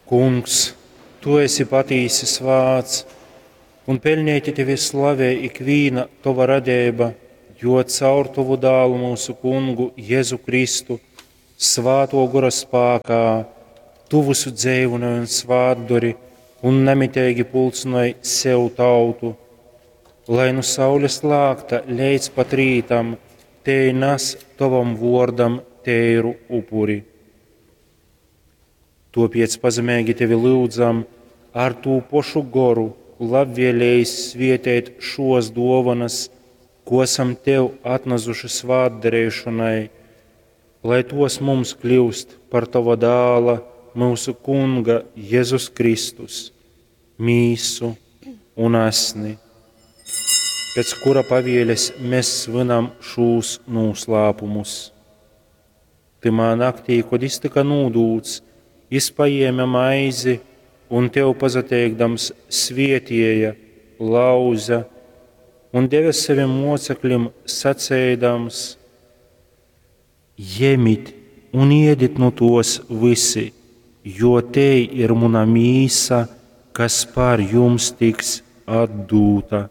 Kungs, tu esi patīsi svāts, un peļneiti tevi slavē ikvīna tova radeiba, jo caur tovu dālu myusu Kungu Jezu Kristu, svātō gora spākā, tu vysu dzeivynoj un svātdori un namiteigi pulcynoj sev tautu, lai nu saules lākta leidz pat rītam tei nas tovam vōrdam teiru upuri. Tōpēc pazemeigi tevi lyudzam ar tū pošu goru labvēlējis svieteit šōs dōvonas, ko asam tev atnazuši svātdareišonai, lai tos mums kļiust par tova dāla, myusu Kunga Jezus Kristus, mīsu un asni, pēc kura pavieles mēs svinam šūs nūslāpumus. Tymā naktī, kod jis tyka nūdūts, jis pajēme maizi un tev pasateikdams svietieja, lauza un deve savim moceklim, saceidams: Jemit un iedit nu tos vysi, jo tei ir muna mīsa, kas par jums tiks atdūta.